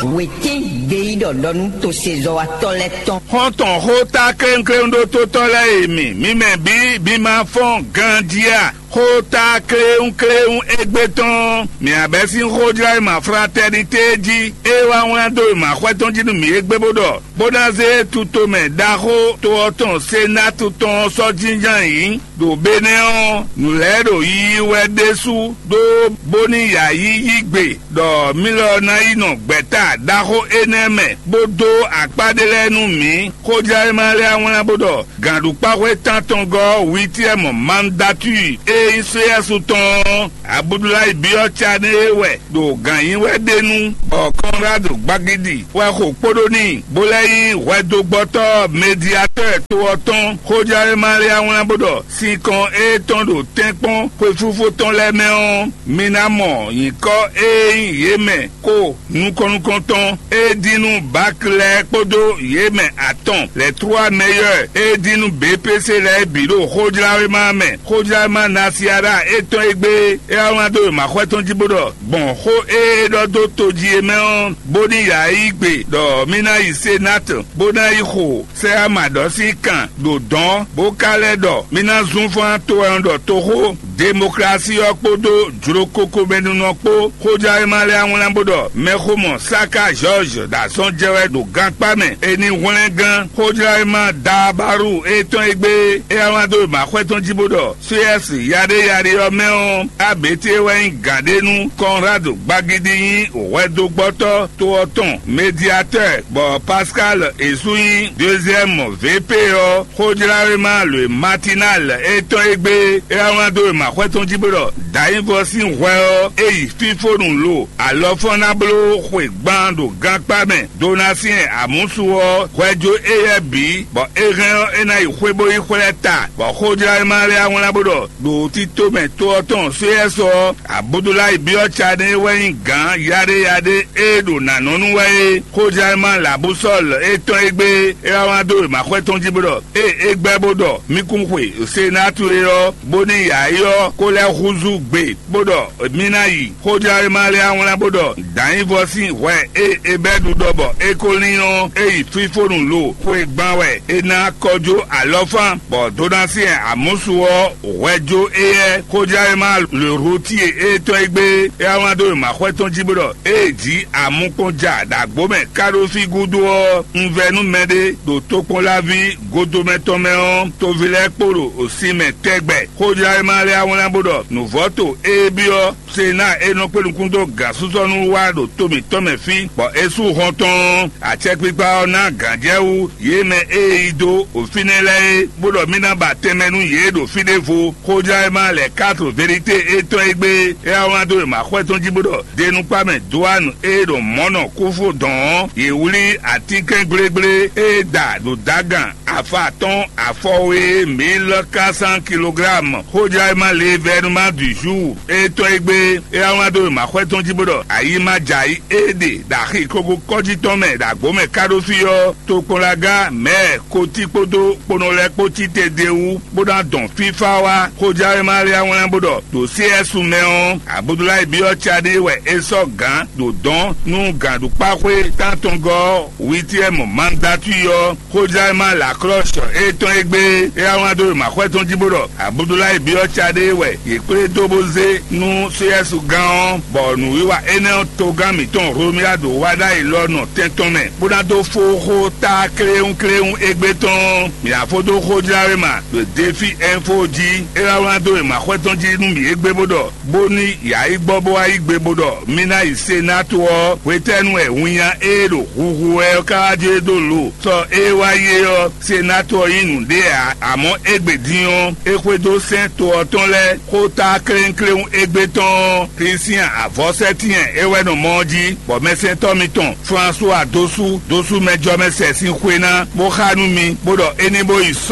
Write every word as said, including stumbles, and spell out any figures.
Wětín gbeyíɖɔ ɖɔ nú tosezɔ́watɔ́ lɛ́ɛ tɔn. Xɔ́ntɔn xóta klénklénɖótótɔ́ lɛ́ɛ e mi, mi mɛ bǐ, mi ma fɔ́n ganjí a? Xóta kléwúnkléwún égbé tɔn, mǐ abɛ́ sín xójlá e ma fratɛ́nitée jí, é wá wlán dó e ma xwɛ tɔn jí nú mǐ égbé bó ɖɔ, bó ná zé tutomɛ ɖaxó to ɔ́ tɔn Senátu tɔn ɔ́ sɔ́ jínjɔ́n ayǐ. Ɖo Benɛ́ ɔ́, nǔ lɛ́ɛ ɖo yiyi wɛ ɖésú ɖó bóní yǎyí yí gbe ɖɔ mí lɔ ná yi nɔ gbɛ̌ta ɖaxó énɛ́ mɛ, bó dó akpá ɖé lɛ́ɛ nú mǐ. Xójlá e ma lɛ́ wlán bó ɖɔ gǎnɖukpáxwé tántɔngɔ́ Witiɛ́mɔ Mandatúi e nyí Sóyɛ́su tɔn ɔ́, Abudulayi byɔ́ Canéé wɛ ɖo gǎn nyi wɛ ɖ'é nu, bɔ Kɔnrádu Gbagidi wɛ xo kpóɖó n'i, bó lɛ́ nyí hwɛdogbɔtɔ́ Mɛdiatɔ́ɛ to ɔ́ tɔn. Xójlá e ma lɛ́ wlán bó ɖɔ sinkɔn étɔn ɖo tɛ́nkpɔ́n xwefúfó tɔn lɛ́ɛ mɛ ɔ́, mi ná mɔ nyǐkɔ e nyí yě mɛ ko nukɔn-nukɔntɔn e dín nú Bak lɛ́ɛ kpódó yě mɛ atɔn lɛ̌ trúwa mɛyɔ́ e dín nú B P C lɛ́ɛ bǐ ɖo xójláwéma mɛ. Xójláwéma Nasiara étɔn e gbé é wá wlán dó wěmaxɔ́ tɔn jí bó ɖɔ gbɔn xó e é ɖɔ dó tojí é mɛ ɔ́, bó ní yǎ yi gbe ɖɔ mí ná yi Senát, bó ná yi xo sɛ ama ɖɔ sín kan ɖo dɔ̌n, bó ka lɛ́ ɖɔ mí ná zún fán to wɛ un ɖɔ toxó. Demoklási ɔ́ kpódó jlokoko mɛnúnɔ kpó. Xójlá e ma lɛ́ wlán bó ɖɔ mɛxomɔ Saka Jɔ́ɔ́j ɖo azɔn jɛ wɛ ɖo gankpá mɛ. È nǐ hwlɛ́ngán xójlá e ma Daabaru étɔn e gbé é wá wlán dó e ma xwɛ tɔn jí bó ɖɔ Suyɛ́si yaɖéyaɖé ɔ́ mɛ ɔ́, Aběté wɛ nyí gǎn ɖé nú Kɔnrádu Gbagidi nyí hwɛdógbɔ́tɔ́ to ɔ́ tɔn, Mediatɛ́ɛ, bɔ Paskáli e sú nyí deuziɛ́mu V P ɔ́. Xójláwéma lǒ e Matinal étɔn e gbé é wá wlán dó e ma xwɛ tɔn jí bó ɖɔ Dǎnyívɔ sín hwɛ ɔ́, é yi fífónu lo alɔfɔ́n ná bló xwe gban ɖo gankpá mɛ. Donasiɛn amǔsu ɔ́ hwɛ jó éyɛ́ bǐ, bɔ é hɛn ɔ́, é ná yi xwé bó yi xwlɛ́ ta, bɔ xójlá e ma lɛ́ wlán bó ɖɔ ɖo tito mɛ to ɔ́ tɔn Sóyɛ́sɔ ɔ́, Abudulayi byɔ́ Cané wɛ nyí gǎn yaɖéyaɖé e ɖo nǎ nɔ nú wɛ é. Xójlá e ma Labusɔ́l étɔn e gbé é wá wlán dó wěmaxwɛ tɔn jí bó ɖɔ ée é gbɛ́ bó ɖɔ mí kún xwe Senátu é ɔ́, bónú yǎyi ɔ́ kó lɛ́ húzú gbe, bó ɖɔ mí ná yi. Xójlá e ma lɛ́ wlán bó ɖɔ Dǎnyívɔ sín hwɛ e Ebɛ́du ɖɔ bɔ é ko lín ɔ́, é yi fífónu lo xwe gban wɛ é ná kɔjó alɔfán, bɔ Donasiɛn amǔsu ɔ́ hwɛ jó éyɛ́. Xójlá e ma Lǒhútíe étɔn e gbé é wá wlán dó wěmaxwɛ tɔn jí bó ɖɔ ée jǐ amukpɔn ja ɖo agbo mɛ ká ɖó fí gúdo ɔ́, un vɛ nú mɛɖé ɖo tokpɔnláví godomɛ tɔn mɛ ɔ́, toví lɛ́ɛ kpo ɖo sin mɛ tɛgbɛ. Xójlá e ma lɛ́ wlán bó ɖɔ nǔvɔ́to e byɔ́ Senáa e nɔ kpé nukún dó gǎnsúsɔ́nu wá ɖo to mǐtɔn mɛ fí, bɔ é sú hɔn tɔn ɔ́, acɛkpikpa ɔ́ ná gǎnjɛwú yě mɛ e yi dó fínɛ́ lɛ́ɛ é, bó ɖɔ mí ná ba tɛnmɛ nú yě ɖo fí ɖěvo. Xójlá e ma lɛ quatre vérité étɔn e gbé é wá wlán dó wěmaxwɛ tɔn jí bó ɖɔ denukpá mɛ Doanu e ɖo mɔ̌ nɔ kúfú dɔn ɔ́, yě wlí atínkɛn gblégblé e da ɖo dǎgan afa atɔ́ɔ́n afɔwe mille quatre cents kilogrammes. Xójlá e ma le vɛnuma du jour étɔn e gbé é wá wlán dó wěmaxwɛ tɔn jí bó ɖɔ ayi ma jɛ ayǐ e ɖe ɖo axi kogo kɔ́jí tɔn mɛ ɖo agbo mɛ ká ɖó fí ɔ́, tokpɔnlaga mɛ̌ kotí kpódó kponɔ lɛ́ɛ kpó cí te d'é wú, bó ná dɔn fífá wá. Xójlá e ma lɛ́ wlán bó ɖɔ ɖo C S mɛ ɔ́, Abudulayi byɔ́ Caɖé wɛ é sɔ́ gǎn ɖo dɔ̌n nú gǎnɖukpáxwé tántɔngɔ́ Witiɛ́mu Mandatui ɔ́. Xójlá e ma Laklɔ́sh étɔn e gbé é wá wlán dó wěmaxwɛ tɔn jí bó ɖɔ Abudulayi byɔ́ Caɖé wɛ yě kplé dó bó zé nú Sóyɛ́su gán ɔ́, bɔ nǔwiwa énɛ́ ɔ́ togán mǐtɔn Hlomia ɖo wá ɖ'ayǐ lɔ nɔ tɛn tɔn mɛ, bó ná dó fó xó tá kléwúnkléwún égbé tɔn ɔ́, mǐ ná fó dó xójláwéma ɖo Defi Ɛnfo jí. É wá wlán dó wěmaxwɛ tɔn jí nú mǐ égbé bó ɖɔ bónú yǎ yi gbɔ bó wá yí gbe bó ɖɔ mí ná yi Senátu ɔ́, hwetɛ́nu wɛ winnya e ɖo huhu wɛ ɔ́ ka wá jó e dó lo? Sɔ e wá yi é ɔ́, Senátu ɔ́ nyí nǔɖé ǎ, amɔ̌ égbé din ɔ́, é xwedó sɛ́n to ɔ́ tɔn lɛ́ɛ xó tá klénkléwún égbé tɔn ɔ́, Klísian avɔ̌sɛ́tɛ́n e wɛ nɔ mɔ ɔ́ jí, bɔ mɛsɛntɔ́ mitɔn Flasuwa dó sú dó sú mɛjɔmɛ sɛ sín xwe ná, bó xá nú mi, bó ɖɔ é ní bó yi